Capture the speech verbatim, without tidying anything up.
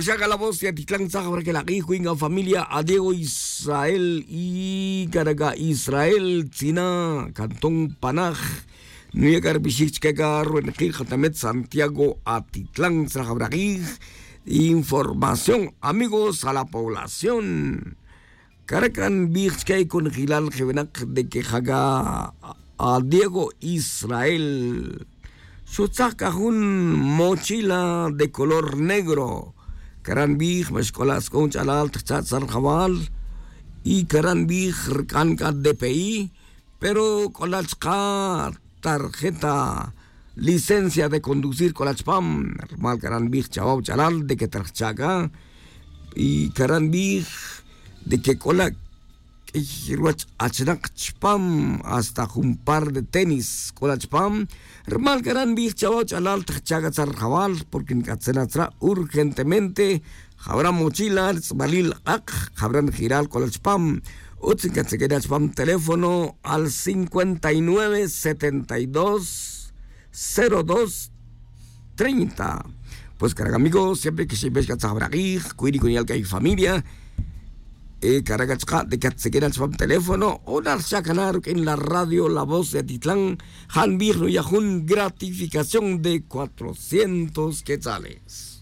Xaca la voz ya titlan tzaj wara que la k'ij cuenca familia a diego israel y caraca israel tzina cantón panaj. Nuya carbixij chique ca ruenqij jatamet santiago atitlan tzaj wara k'ij. Información amigos a la población. Caraca nbij chique conjelal jevenak de que jaca a diego israel xutzaj c'a jun mochila de color negro. Caran nbij ma xc'ola' sc'on ch'alal ta jcha' tzar jawal. Y caran nbij rc'an c'a dpi pero c'ola' chka' tarjeta licencia de conducir c'ola' chpam. Rmal caran nbij chawa' wach'alal de que ta rjcha' c'a y caran nbij de que c'ola' q'uiy ruwach achinak chpam hasta jun par de tenis c'ola' chpam. Rmal c'a ra' nbij chawa' ch'alal ta jcha' c'a tzar jawal porque nc'atzena tzra' urgentemente. Jawra mochila tz'balil k'ak jawra njiral c'ola' chpam. Utz ncatzequena chpam teléfono al cincuenta y nueve setenta y dos cero dos treinta. Pues carac amigo siempre que xepex c'a tzaj wara k'ij cuy ri cuniyal c'a y familia. Carac achka' de que atzequena chupam teléfono o narcha' cana ruq'uin la radio la voz de atitlan. Ja' nbij nuya' jun gratificación de cuatrocientos quetzales.